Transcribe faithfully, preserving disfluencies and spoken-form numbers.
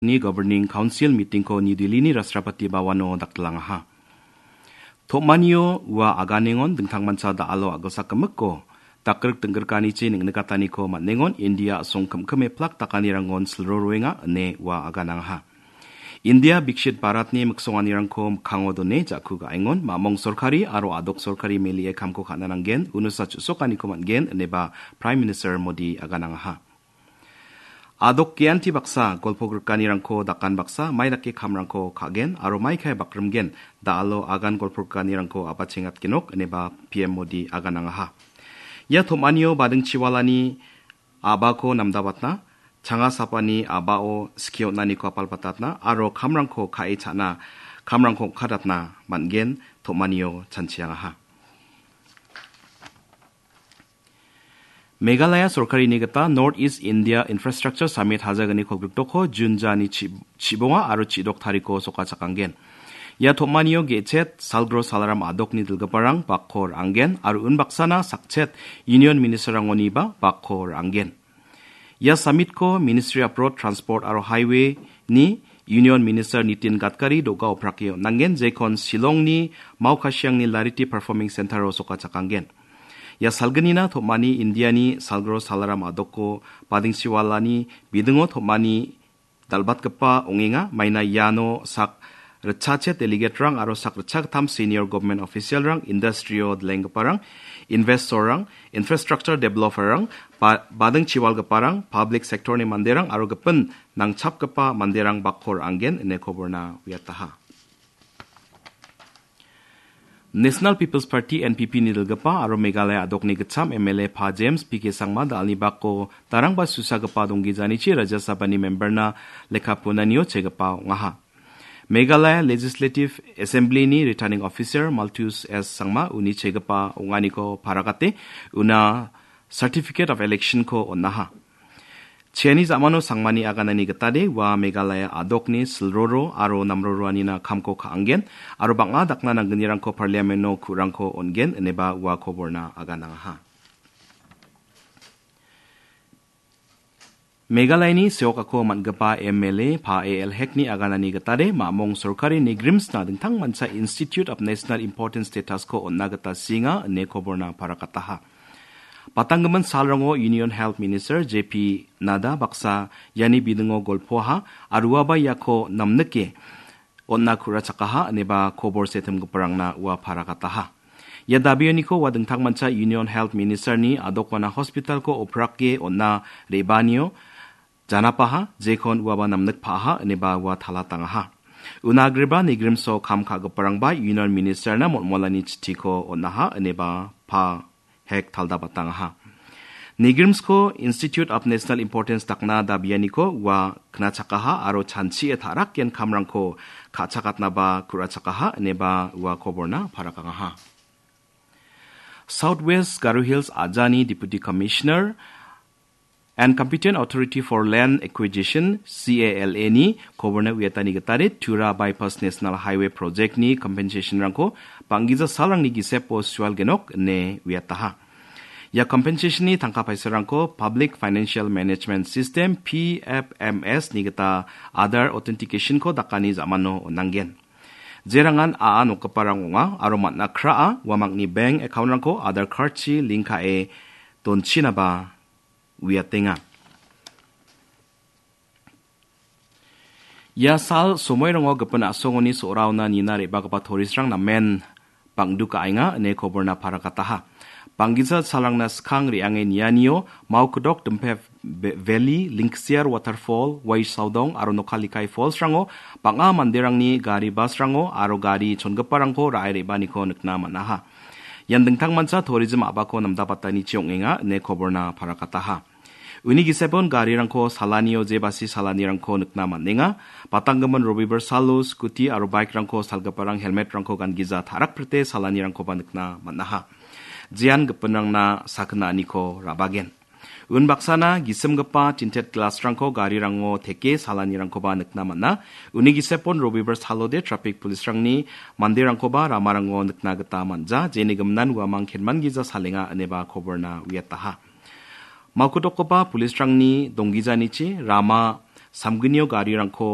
ni Governing Council meeting-ko New Delhi-ni Rashtrapati Bhavan-o daktilangaha. Tom·anio ua aganengon dingtangmancha da·alo a·gilsak gimikko dakgrik dinggrikanichi neng·nikataniko man·engon India a·song kimkime plak dakanirangon silroroenga ine ua aganangaha. India Bikshit Bharatni miksonganirangko mikkango done ja·ku ga·engon mamong sorkari aro a·dok sorkari melie kamko ka·na nanggen, unosa chu·sokaniko man·gen ineba Prime Minister Modi aganangaha. A·dok geanti baksa golpo grikanirangko dakan baksa mai dake kamrangko ka·gen aro mai kae bakrimgen da·alo agan golpo grikanirangko a·bachengatgenok ineba P M Modi aganangaha. Ia tom·anio badingchiwalani a·bako namdabatna, changa sapani a·bao skie on·aniko apalbatatna aro kamrangko ka·e cha·na, kamrangko ong·kadatna man·gen tom·anio chanchiangaha. Meghalaya sorkarini gita North East India Infrastructure Summit hajalgni kolgrikdokko June jani chi-, chibonga aro chidok tariko sokachakanggen. Ia tom·anio ge·chet Salgro Salaram a·dokni dilgiparang bakko ra·anggen aro unbaksana sakchet Union Ministerrangoniba bakko ra·anggen. Ia summitko Ministry of Road Transport aro Highway-ni Union Minister Nitin Gadkari do·ga oprake on·angen, jekon Shillongni Maokashiangni Lariti Performing Center-o sokachakanggen. Ia salgnina tom·ani Indiani Salgro Salaram a·dokko badingchiwalani bidingo tom·ani dal·batgipa ong·enga. Maina iano sak ritchachet delegaterang aro sak ritchagittam senior government officialrang, industry-o dilenggiparang, investorrang, infrastructure developerrang, ba-, badingchiwalgiparang, public sector-ni manderang aro gipin nangchapgipa manderang bakko ra·anggen ine koborna uiataha. National People's Party, N P P, nidilgipa aro Meghalaya a·dokni gitcham M L A Pa James P K Sangma da·alni bako darangba susagipa donggijanichi Rajya Sabhani memberna lekka punanio chegipa ong·aha. Meghalaya Legislative Assembly-ni Returning Officer Malthus S Sangma uni chegipa ong·aniko paragate una Certificate of Election-ko on·aha. Chiani ja·mano Sangmani aganani gitade ua Meghalaya a·dokni silroro aro namroroanina kamko ka·anggen aro bang·a dakna nanggnirangko Parliament-o ku·rangko on·gen ineba ua koborna aganangaha. Meghalayani seokako man·gipa M L A Pa A L Hekni aganani gitade mamong sorkari NEIGRIHMS-na dingtangmancha Institute of National Importance status-ko on·na gita sienga ine koborna parakataha. Patanggimin salrango Union Health Minister J P Nadda baksa iani bidingo golpoaha aro uaba iako namnike on·na ku·rachakaha ineba kobor setimgiparangna ua parakataha. Ia dabianiko ua dingtangmancha Union Health Minister-ni a·dokwana hospital-ko oprake on·na re·baanio janapaha, jekon uaba namnikpa·aha ineba ua talatangaha. Una agreba NEIGRIHMS-o kam ka·giparangba Union Minister-na molmolani chittiko on·aha ineba Pa Hek taldabatangaha. NEIGRIHMS-ko Institute of National Importance dakna dabianiko ua knachakaha aro chanchie ta·rakgen kamrangko ka·chakatnaba ku·rachakaha ineba ua koborna parakangaha. South West Garo Hills a·jani Deputy Commissioner and Competent Authority for Land Acquisition, C A L A-ni koborna uiatani gitade Tura Bypass National Highway Project-ni compensation-rangko bang·gija salrangni gisepo sualgenok ine uiataha. Ia compensation-ni tangka paisarangko Public Financial Management System, P F M S-ni gita Aadhaar Authentication-ko dakani ja·mano on·anggen. Jerangan a·a nokgiparang ong·a aro man·a kra·a uamangni bank account-rangko Aadhaar card-chi link ka·e donchinaba uiatenga. Ia sal somoirango gipin a·songoni so·raona nina re·bagipa tourist-rang namen bang·dukaenga ine koborna parakataha. Bang·gija salrangna skang re·ange nianio Maokdok Dimpheb Be-, Valley, Lingksiar Waterfall, Waisaodong aro Nokhalikai Falls-rango bang·a manderangni gari bus-rango aro gari chongiparangko ra·e re·baaniko nikna man·aha. Ian dingtangmancha tourism a·bako namdabatanichi ong·enga ine koborna parakataha. Uni gisepon garirangko salanio jebasi salanirangko nikna man·enga. Batanggimin Robibar salo scooty aro bike-rangko salgiparang helmet-rangko gangija ta·rakprete salanirangkoba nikna man·aha. Jean gipinrangna sakgna aniko ra·bagen. Unbaksana gisimgipa tinted glass-rangko garirango teke salanirangkoba nikna man·a. Uni gisepon Robibar salode traffic police-rangni manderangkoba ramarango nikna gita man·ja, jeni giminan uamang kenman gija salenga ineba koborna uiataha. Maokdokgipa police-rangni donggijanichi rama samgnio garirangko